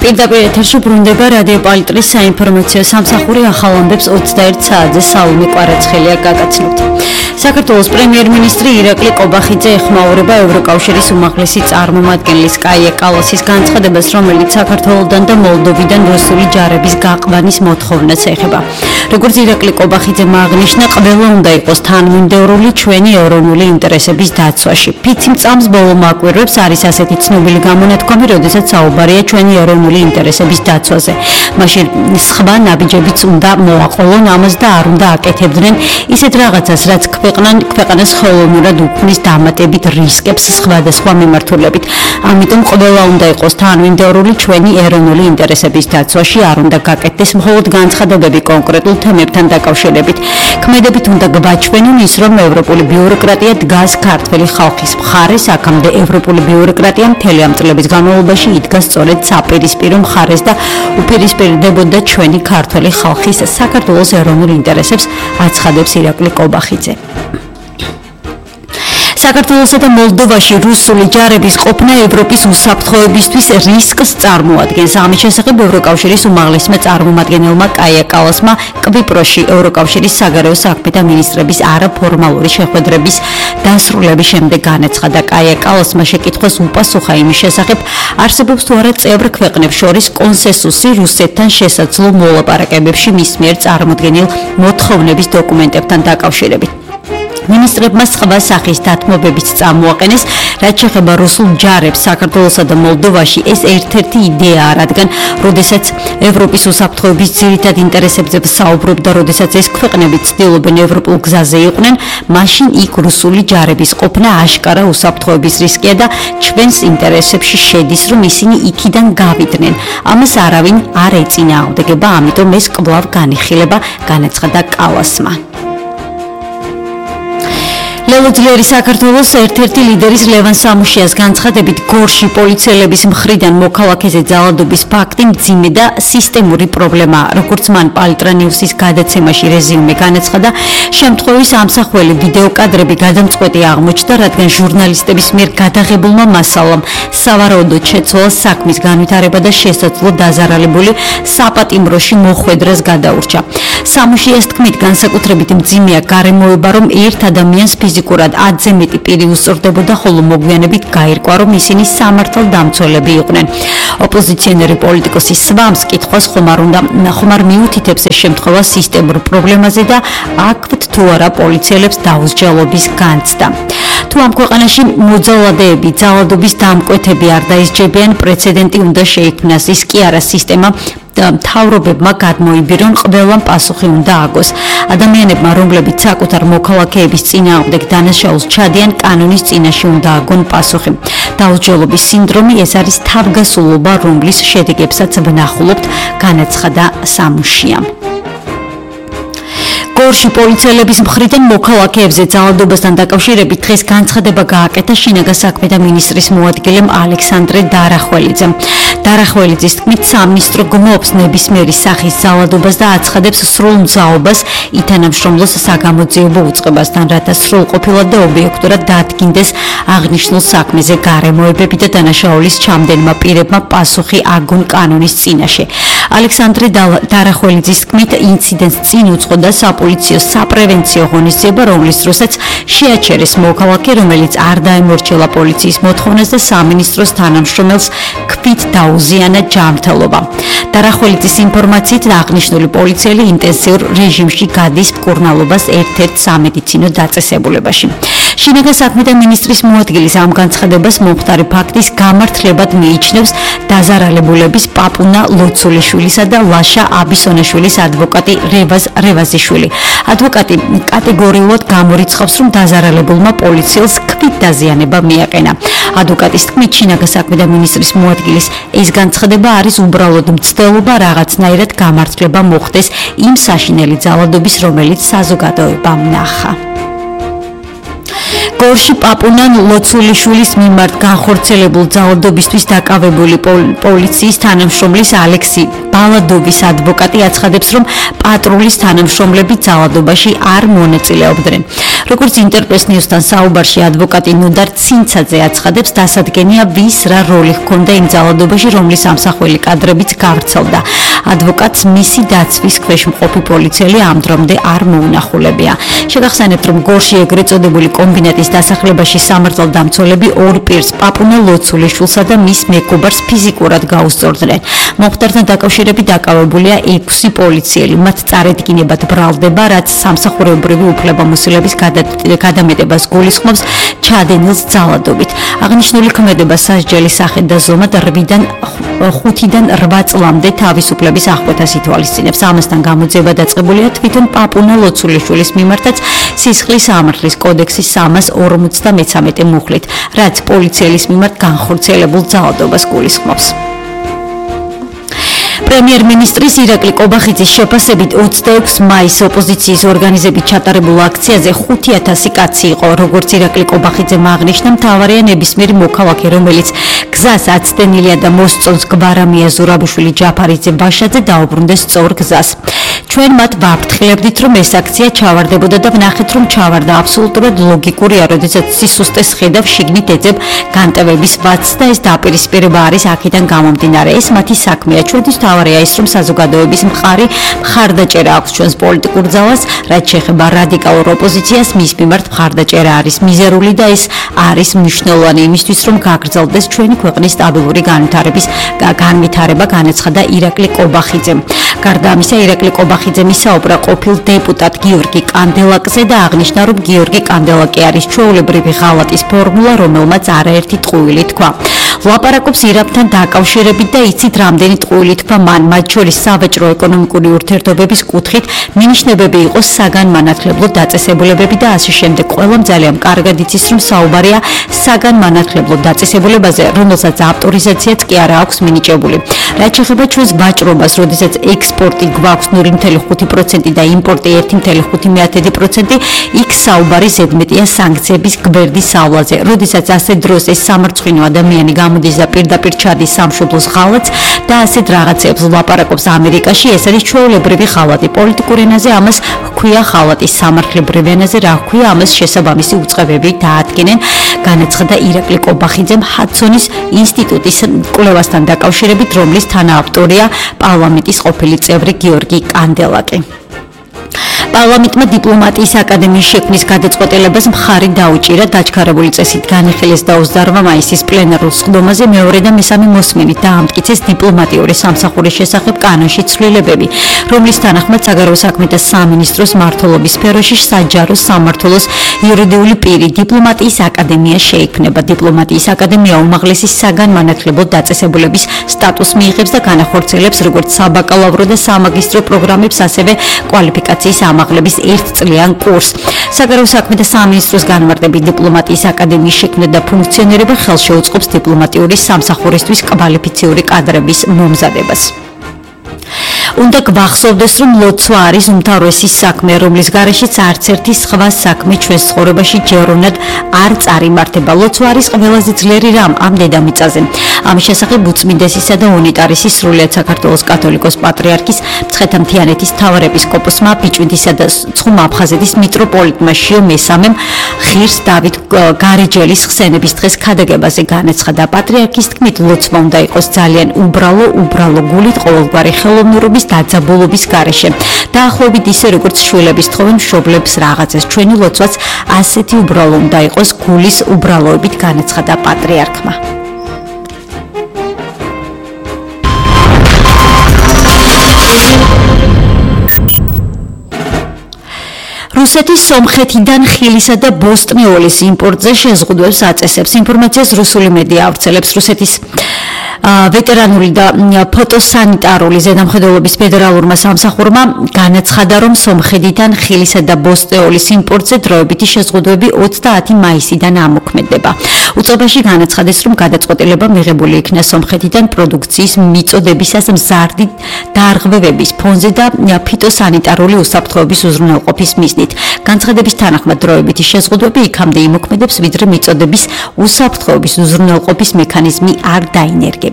პირდაპირ ეთერში ბრუნდება რადიო პალიტრის საინფორმაციო სამსახური ახალ ამბებს 21 საათზე სალომე კვარაცხელია გაგაცნობთ. საქართველოს პრემიერ-მინისტრი ირაკლი ყობახიძე ეხმაურება ევროკავშირის უმაღლესი წარმომადგენლის კაია კალასის განცხადებას, რომელიც საქართველოსთან და მოლდოვიდან რუსული ჯარების გაყვანის მოთხოვნას ეხება. როგორც ირაკლი ყობახიძემ აღნიშნა, ყველა უნდა იყოს თანმიმდევრული ჩვენი ეროვნული ინტერესების დაცვაში. ფიცი წამს ბოლო მაკვირვებს არის ასეთი ცნობილი გამონათქვამი, როდესაც საუბარია ჩვენი ეროვნული ინტერესების დაცვაზე. მაშინ სხვა ნაბიჯებიც უნდა მოაყოლონ ამას და არ უნდა აკეთებდნენ ისეთ რაღაცას, რაც ქვეყანას ხელოვნურად უქმნის დამატებით რისკებს სხვადასხვა მიმართულებით. ამიტომ ყველა უნდა იყოს თანმიმდევრული ჩვენი ეროვნული ინტერესების დაცვაში, არ უნდა გაკეთდეს მხოლოდ განცხადებები კონკრეტულ თემებთან დაკავშირებით. ქმედებით უნდა გვაჩვენონ ის, რომ ევროპული ბიუროკრატია დგას ქართველი ხალხის მხარეს, აქამდე ევროპული ბიუროკრატია მთელი ამ წლების განმავლობაში იდგა სწორედ საპირისპირო მხარეს და უპირისპირდებოდა ჩვენი ქართველი ხალხის საქართველოს ეროვნულ ინტერესებს, აცხადებს ირაკლი ყობახიძე. საქართველოსა და მოლდოვაში რუსული ჯარების ყოფნა ევროპის უსაფრთხოებისთვის რისკს წარმოადგენს. ამის შესახებ ევროკავშირის უმაღლესმა წარმომადგენელმა კაია კალასმა კვიპროსში ევროკავშირის საგარეო საქმეთა მინისტრების არაფორმალური შეხვედრების დასრულების შემდეგ განაცხადა. კაია კალასმა შეკითხვას უპასუხა იმის შესახებ, არსებობს თუ არა წევრ ქვეყნებს შორის კონსენსუსი რუსეთთან შესაძლო მოლაპარაკებებში მის მიერ წარმოდგენილ მოთხოვნების დოკუმენტებთან დაკავშირებით. მინისტრებმა სხვა სახის დათმობებიც წამოაყენეს, რაც შეეხება რუსულ ჯარებს საქართველოსა და მოლდოვაში. ეს ერთ-ერთი იდეაა, რადგან როდესაც ევროპის უსაფრთხოების ძირითად ინტერესებზე ვსაუბრობ და როდესაც ეს ქვეყნები ცდილობენ ევროპულ გზაზე იყვნენ, მაშინ იქ რუსული ჯარების ყოფნა აშკარა უსაფრთხოების რისკია და ჩვენს ინტერესებში შედის, რომ ისინი იქიდან გავიდნენ. ამას არავინ არ ეწინააღმდეგება, ამიტომ ეს კვლავ განიხილება, განაცხადა კალასმა. ლელოძლიერი საქართველოს ერთ-ერთი ლიდერის ლევან სამუშიას განცხადებით, გორში პოლიციელების მხრიდან მოქალაქეზე ძალადობის ფაქტი მძიმე და სისტემური პრობლემაა. როგორც მან პალტრა ნიუსის გადაცემაში რეზიუმე განაცხადა, შემთხვევის ამსახველი ვიდეოკადრები გადამწყვეტი აღმოჩნდა, რადგან ჟურნალისტების მიერ გადაღებულმა მასალამ სავარაუდოდ შეცვალა საქმის განვითარება და შესაძლო დაზარალებული საპატიმროში მოხვედრას გადაურჩა. სამუშიას თქმით, განსაკუთრებით მძიმეა გარემოება, რომ ერთ ადამიანს ფიზიკურად 10-ზე მეტი პირი უსწორდებოდა, ხოლო მოგვიანებით გაირკვა, რომ ისინი სამართალდამცველები იყვნენ. ოპოზიციონერი პოლიტიკოსი სვამს კითხვას ხომარ მიუთითებს ეს შემთხვევა სისტემურ პრობლემაზე და აქვთ თუ არა პოლიციელებს დაუსჯელობის განცდა. თუ ამ ქვეყანაში მოძალადეები, ძალადობის დამკვეთები არ დაისჯებიან, პრეცედენტი უნდა შეიქმნას. ის კი არა სისტემა მთავრობებმა გადმოიბირონ, ყველამ პასუხი უნდა აგოს. ადამიანებმა, რომლებიც საკუთარ მოქალაქეების წინააღმდეგ დანაშაულს ჩადიან, კანონის წინაშე უნდა აგონ პასუხი. დაუსჯელობის სინდრომი ეს არის თავგასულობა, რომლის შედეგებსაც ვნახულობთ, განაცხადა სამუშიამ. გორში პოლიციელების მხრიდან მოქალაქეებზე ძალადობასთან დაკავშირებით დღეს განცხადება გააკეთა შინაგან საქმეთა მინისტრის მოადგილემ ალექსანდრე დარახველიძემ. დარახველიძის თქმით, სამინისტრო გმობს ნებისმიერი სახის ძალადობას და აცხადებს სრულ მძაობას ითანამშრომლოს საგამოძიებო უწყებასთან, რათა სრულყოფილად და ობიექტურად დაადგინდეს აღნიშნულ საქმეზე გარემოებები და დანაშაულის ჩამდენმა პირებმა პასუხი აგონ კანონის წინაშე. ალექსანდრე დარახველიძის თქმით, ინციდენტს წინ უძღოდა პოლიციო საპრევენციო ღონისძიება, რომლის დროსაც შეაჩერეს მოქალაქე, რომელიც არ დაემორჩილა პოლიციის მოთხოვნას და სამინისტროს თანამშრომელს ქვით დაუზიანა ჯანმრთელობა. დარახველიძის ინფორმაციით, აღნიშნული პოლიციელი ინტენსიურ რეჟიმში გადის მკურნალობას ერთ-ერთ სამედიცინო დაწესებულებაში. შინაგან საქმეთა მინისტრის მოადგილის ამ განცხადებას მომხდარი ფაქტის გამართლებად მიიჩნევს დაზარალებულების პაპუნა ლოცულიშვილისა და ლაშა აბისონაშვილის ადვოკატი რევაზიშვილი. ადვოკატი კატეგორიულად გამორიცხავს, რომ დაზარალებულმა პოლიციელს ქვით დაზიანება მიაყენა. ადვოკატის თქმით, შინაგან საქმეთა მინისტრის მოადგილის ეს განცხადება არის უბრალოდ მცდელობა, რაღაცნაირად გამართლება მოხდეს იმ საშინელი ძალადობის, რომელიც საზოგადოებამ ნახა. გორში პაპუნა ლოცულიშვილის მიმართ განხორციელებულ ძალადობისთვის დაკავებული პოლიციის თანამშრომლის ალექსი ბალადოვის ადვოკატი აცხადებს, რომ პატრულის თანამშრომლები ძალადობაში არ მონაწილეობდნენ. როგორც ინტერპრეს ნიუსთან საუბარში ადვოკატი ნოდარ ცინცაძე აცხადებს, დასადგენია ვის რა როლი ჰქონდა იმ ძალადობაში, რომლის ამსახველი კადრებიც გავრცელდა. ადვოკატს მისი დაცვის ქვეშ მყოფი პოლიციელი ამ დრომდე არ მოუნახულებია. შეგახსენებთ, რომ გორში ეგრეთ წოდებული კომბინატის დასახლებაში სამართალდამცველები ორ პირს პაპუნა ლოცულიშვილსა და მის მეგობარს ფიზიკურად გაუსწორდნენ. მომხდართან დაკავშირებით დაკავებულია 6 პოლიციელი. მათ წარედგინებად ბრალდება, რაც სამსახურეობრივი უფლებამოსილების გადამეტებას გულისხმობს ჩადენილს ძალადობით. აღნიშნული ქმედება სასჯელი სახით და ზომად 5-დან 8 წლამდე თავისუფლების აღკვეთას ითვალისწინებს. ამასთან გამოძიება დაწყებულია თვითონ პაპუნა ლოცულიშვილის მიმართაც სისხლის სამართლის კოდექსის 353 მუხლით, რაც პოლიციელის მიმართ განხორციელებულ ძალადობას გულისხმობს. პრემიერ-მინისტრის ირაკლი კობახიძის შეფასებით 26 მაის ოპოზიციის ორგანიზებით ჩატარებულ აქციაზე 5000 კაცი იყო. როგორც ირაკლი კობახიძემ აღნიშნა, მთავარია ნებისმიერი მოქალაქე, რომელიც გზას აცდენილია და მოსწონს გვარამია ზურაბუშვილი ჯაფარიძე ბაშაძე დაუბრუნდეს სწორ გზას. ჩვენ მათ ვაფრთხილებდით, რომ ეს აქცია ჩავარდებოდა და ვნახეთ, რომ ჩავარდა. აბსოლუტურად ლოგიკურია, როდესაც სისუსტეს ხედავ, შიგნით ეძებ განტევების ვაცს და ეს დაპირისპირება არის აქედან გამომდინარე. ეს მათი საქმეა. ჩვენთვის მთავარია ის, რომ საზოგადოების მხარდაჭერა აქვს ჩვენს პოლიტიკურ ძალას, რაც შეეხება რადიკალურ ოპოზიციას, მის მიმართ მხარდაჭერა არის მიზერული და ეს არის მნიშვნელოვანი იმისთვის, რომ გაგრძელდეს ჩვენი ქვეყნის სტაბილური განვითარება, განაცხადა ირაკლი კობახიძემ. გარდა ამისა, ირაკლი კობახიძემ ისაუბრა ყოფილ დეპუტატ გიორგი კანდელაკზე და აღნიშნა, რომ გიორგი კანდელაკი არის ჩვეულებრივი ღალატის ფორმულა, რომელმაც არაერთი ტყუილი თქვა. ლაპარაკობს ირანთან დაკავშირებით და იცით, რამდენი ტყუილი თქვა მან, მათ შორის სავაჭრო-ეკონომიკური ურთიერთობების კუთხით მინიშნებები იყო საგანმანათლებლო დაწესებულებები და ასე შემდეგ. ყველამ ძალიან კარგად იცის, რომ საუბარია საგანმანათლებლო დაწესებულებაზე, რომელსაც ავტორიზაციაც კი არა აქვს მინიჭებული. რაც შეეხება ჩვენს ვაჭრობას, როდესაც ექსპორტი გვაქვს 0.5% და იმპორტი 1.5%, იქ საუბარი ზედმეტია სანქციების გვერდის სავლაზე. როდესაც ასე დროს ეს სამარცხვინო ადამიანი გამოდის და პირდაპირ ჩადის სამშობლოს ღალატს და ასეთ რაღაცებს ლაპარაკობს ამერიკაში, ეს არის ჩვეულებრივი ღალატი. პოლიტიკურ ენაზე ამას ჰქვია ღალატი, სამართლებრივ ენაზე რა ჰქვია, ამას შესაბამისი უწყებები დაადგენენ, განაცხადა ირაკლი კობახიძემ ჰადსონის ინსტიტუტის კვლევასთან დაკავშირებით, რომლის თანაავტორია პარლამენტის ყოფილი წევრი გიორგი კანდელაკი. პარლამენტმა დიპლომატიის აკადემიის შექმნის გადაწყვეტილებას მხარი დაუჭირა. დაჩქარებული წესით განიხილეს და 28 მაისის პლენარულ სხდომაზე მეორე და მესამე მოსმენით დაამტკიცეს დიპლომატიური სამსახურის შესახებ კანონში ცვლილებები, რომლის თანახმად საგარეო საქმეთა სამინისტროს მმართველობის სფეროში საჯარო სამმართველოს იურიდიული პირი დიპლომატიის აკადემია შეიქმნება. დიპლომატიის აკადემია უმაღლესი საგანმანათლებლო დაწესებულების სტატუსს მიიღებს და განახორციელებს როგორც საბაკალავრო და სამაგისტრო პროგრამებს, ასევე კვალიფიკაციის ამაღლების 1 წლიან კურსს. საგარეო საქმეთა სამინისტროს განმარტებით დიპლომატიის აკადემიის შექმნა და ფუნქციონირება ხელშეუწყობს დიპლომატიური სამსახურისთვის კვალიფიციური კადრების მომზადებას. უნდა გვახსოვდეს, რომ ლოცვა არის უმთავრესი საქმე, რომლის გარეშეც არც ერთი სხვა საქმე ჩვენს ცხოვრებაში ჯეროვნად არ წარიმართება. ლოცვა არის ყველაზე ძლიერი რამ ამ დედამიწაზე. ამის შესახებ უწმინდესისა და უნიტარისის სრულიად საქართველოს კათოლიკოს პატრიარქის მცხეთა-მთიანეთის მთავარეპისკოპოსმა ბიჭვინთისა და ცხუმ აფხაზეთის მიტროპოლიტმა შიო მესამემ ღირს დავით გარეჯელის ხსენების დღეს ქადაგებაზე განაცხადა. პატრიარქის თქმით, ლოცვა უნდა იყოს ძალიან უბრალო გულით, ყოველგვარი ხელოვნურობის დაძაბულობის გარეშე. დაახლოებით ისე, როგორც შვილების თხოვენ მშობლებს რაღაცას. ჩვენი ლოცვაც ასეთი უბრალო უნდა იყოს გულის უბრალოებით, განაცხადა პატრიარქმა. რუსეთის სომხეთიდან ხილისა და ბოსტნეოლის იმპორტზე შეზღუდვებს აწესებს. ინფორმაციას რუსული მედია ავრცელებს. რუსეთის ვეტერანული და ფოტოსანიტარული ზედამხედველობის ფედერალურმა სამსახურმა განაცხადა, რომ სომხეთიდან ხილისა და ბოსტნეოლის იმპორტზე დროებითი შეზღუდვები 30 მაისიდან ამოქმედება. უწყებაში განაცხადეს, რომ გადაწყვეტილება მიღებული იქნა სომხეთიდან პროდუქციის მიწოდებისას მზარდი დარღვევების ფონზე და ფიტოსანიტარული უსაფრთხოების უზრუნველყოფის მიზნით. განცხადების თანახმად დროებითი შეზღუდვები იქამდე იმოქმედებს, ვიდრე მიწოდების უსაფრთხოების უზრუნველყოფის მექანიზმი არ დაინერგება.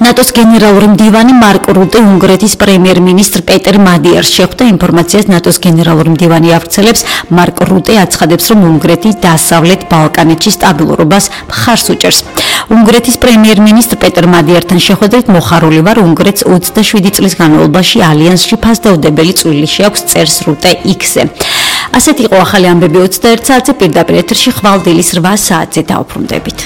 ნატოს გენერალური მდივანი მარკ რუტე უნგრეთის პრემიერ-მინისტრ პეტერ მადიერს შეხვდა ინფორმაციას ნატოს გენერალური მდივანი აღწელებს მარკ რუტე აცხადებს რომ უნგრეთი დასავლეთ ბალკანეთში სტაბილურობას მხარს უჭერს უნგრეთის პრემიერ-მინისტრ პეტერ მადიერთან შეხვედრით მოხარული ვარ უნგრეთს 27 წლის განმავლობაში ალიანსში ფასდაუდებელი წვლილი შეაქვს წერს რუტე X-ზე ასეთი იყო ახალი ამბები 21 საათზე პირდაპირ ეთერში ხვალ დილის 8 საათზე დავბრუნდებით